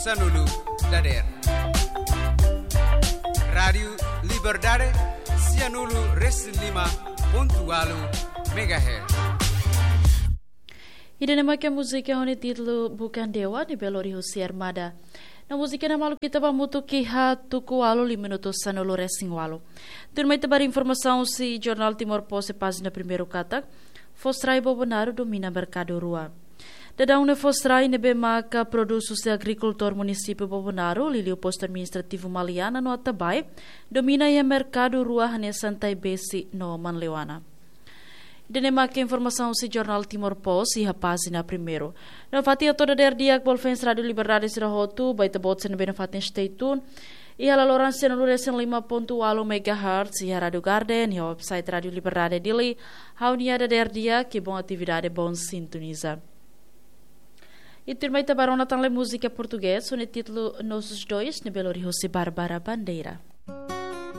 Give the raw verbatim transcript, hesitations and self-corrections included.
Sanulu dader. Rádiu Liberdade, sianulu resin lima pontu ualu megahertz. Ida-ne'e mak múzika ho nia títulu Bukan Dewa, ne'ebé lori husi Armada. No múzika ne'e maluk ita ba hamutuk iha tuku ualu lima minutu sanulu resin ualu. Tuirmai ita ba informasaun husi Jornál Timor Post iha pájina primeiru katak, fos rai Bobonaro domina merkadu rua. Daudaun ne'e fos rai ne'ebé maka produs husi agrikultór munisípiu Bobonaro, liuliu postu administrativu Maliana no Atabae, domina iha merkadu rua hanesan Taibesi no Manleuana. Ida-ne'e mak informasaun husi Jornál Timor Post iha pájina primeiru. No fatin atu dader di'ak ba ouvinte Rádiu Liberdade sira hotu, ba ita-boot sira ne'ebé nafatin stay tune iha laloran sianulu resin lima pontu ualu megahertz iha Rádiu Garden, iha website Rádiu Liberdade Dili. Ha'u-nia dader di'ak, bom atividade, bom sintoniza. I tuirmai ita ba rona tan le múzika portugés, ho nia títulu Nós os Dois, ne'ebé lori husi Bárbara Bandeira.